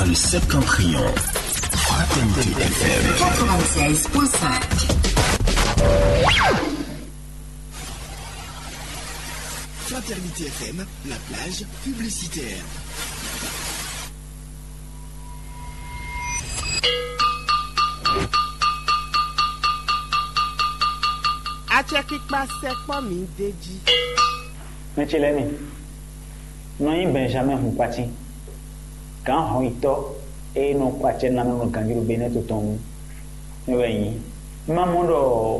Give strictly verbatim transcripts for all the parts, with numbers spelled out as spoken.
Le Septentrion. Fraternité F M. Quatre-vingt-seize point cinq. Fraternité F M, la plage publicitaire. Acɛkpikpa sɛkpɔ́ mi d'é jí. Mɛ ce lɛ́ɛ mi, nɔ nyí Benjamin Hunkwati, gǎn hɔnyitɔ́ e nɔ kɔ acɛ nú amɛ nɔ ganjí ɖo Benɛ́ɛ to tɔn nu. Mɛ wɛ nyí. Un ma mɔ ɖɔ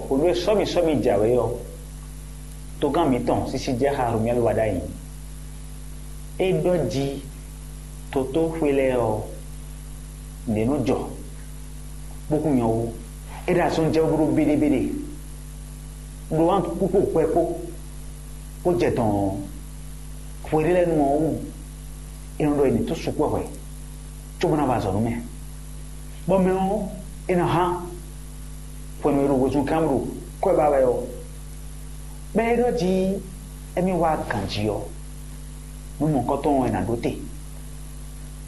hwenu e sɔ́mi sɔ́mi jǎwe ɔ́, togán mǐtɔn sísí jɛ xa Romuɛ́li wa ɖ'ayǐ. É ɖɔ jí totóxwé lɛ́ɛ ɔ́, nǔɖé nɔ jɔ, bó kún nyɔ wú. É ɖo azɔn jɛ bó ɖó béɖébeɖé, ɖó wǎn kpókpó hwɛ kpó, kó jɛ dɔn ɔ́, hwe ɖé lɛ́ɛ nu ɔ́ wú, é nɔ ɖɔ è nǐ tó sukpɔ́ hwɛ, cóbó ná wa azɔ̌ nú mɛ. Bɔ mɛ ɔ́, é nɔ hán hwenu e ɖo wezun kán ɖo kwɛ́ ba wɛ ɔ́, bɔ é ɖɔ jí émí wá ganjí ɔ́, nú mɔ̌hunkɔtɔn ɔ́ è nǎ ɖó te,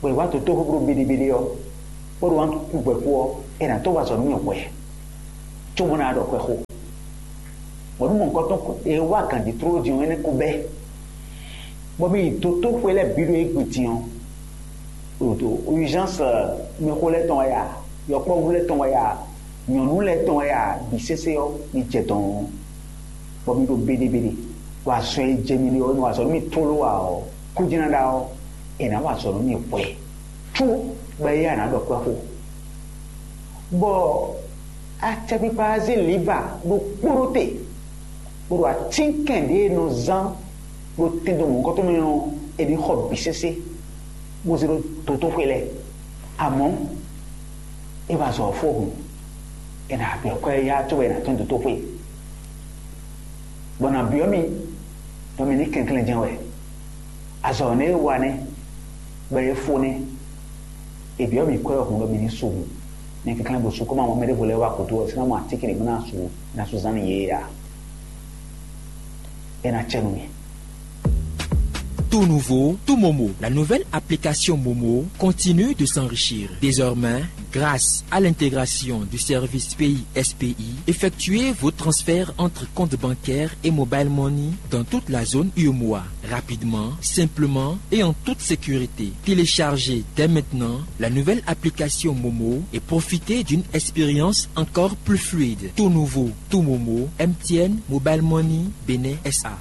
bɔ è wá dotóxwé bló béɖébeɖé ɔ́, bó ɖo wǎn kú hwɛ̌ kú ɔ́, è nǎ tó wa azɔ̌ nú mì hwɛ̌, cóbó ná ɖɔ xwɛxó. Bɔ nú mɔ̌hunkɔtɔn e wá ganjí tlóló din ɔ́, énɛ́ ko bɛ́, bɔ mì yi dotóxwé lɛ́ɛ bǐ ɖo égbé din ɔ́, ɖo urgence, mɛxó lɛ́ɛ tɔn wɛ ya, yɔkpɔ́vú lɛ́ɛ tɔn wɛ ya, nyɔ̌nu lɛ́ɛ tɔn wɛ ya, bǐ sésé ɔ́, mi jɛ dɔn ɔ́, bɔ mi ɖo béɖébeɖé, bɔ azɔn e jɛ mi ɖe ɔ́, nɔ azɔ̌ nú mi tlóló ǎ ɔ́, kú jɛ́n ná ɖa ɔ́, è nǎ wa azɔ̌ nú mi hwɛ, có bɔ éyɛ́ a nǎ ɖɔ kwɛ́ xó. Bɔ acɛkpikpa ɔ́ zé lǐva ɖokpó ɖó te, bó ɖo atínkɛn ɖě e nɔ zán ɖo tɛndo mɔ̌hunkɔtɔn mɛ ɔ́, è nǐ xɔ bǐ sésé, bó zé ɖó dotóxwé lɛ́ɛ. Amɔ̌, é wá zɔ ɔ́ fó hǔn, è nǎ byɔ́ kwɛ́ yá cóbɔ è nǎ tɔ́n dotóxwé, bɔ nǎ byɔ́ mì, ɖɔ mi ní kɛnklɛ́n jɛ́n wɛ. Azɔ̌ nɛ́ e wa nɛ́, bɔ é fó nɛ́. È byɔ́ mì kwɛ́ ɔ́ hǔn ɖɔ mi ní su hǔn. Mi kɛnklɛ́n bo su, kó má mɔ mɛ ɖěvo lɛ́ɛ wá gǔdo ɔ́, sin ná mɔ atínkɛn ɖě bó ná su, ná su zán nú yě ǎ. É ná cɛ nú mi. Tout nouveau, tout Momo. La nouvelle application Momo continue de s'enrichir. Désormais, grâce à l'intégration du service Pays S P I, effectuez vos transferts entre comptes bancaires et mobile money dans toute la zone U M O A, rapidement, simplement et en toute sécurité. Téléchargez dès maintenant la nouvelle application Momo et profitez d'une expérience encore plus fluide. Tout nouveau, tout Momo, M T N Mobile Money, Bénin S A.